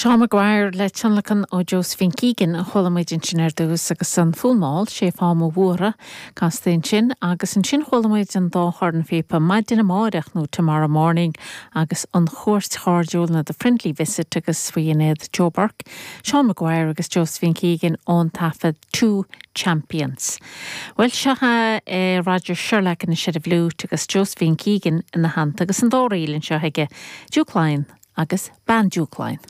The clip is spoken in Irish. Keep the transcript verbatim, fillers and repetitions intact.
Seán Maguire le tionlacan ó Josephine Keegan a chuala muid ansin ar dtús agus an Fonn Mall sé fá mo bhuartha casta ansin agus ansin chuala muid an dá chornphíopa maidin amárach nó tomorrow morning agus an chuairt chairdiúil nó the friendly visit agus faoi inéad Joe Burke, Seán Maguire agus Josephine Keegan ón taifead Two Champions. Well seo é Roger Sherlock ina sé bhlút agus Josephine Keegan ina theannta agus an dá ríl anseo aige Duke Lyons agus Bean Duke Lyons.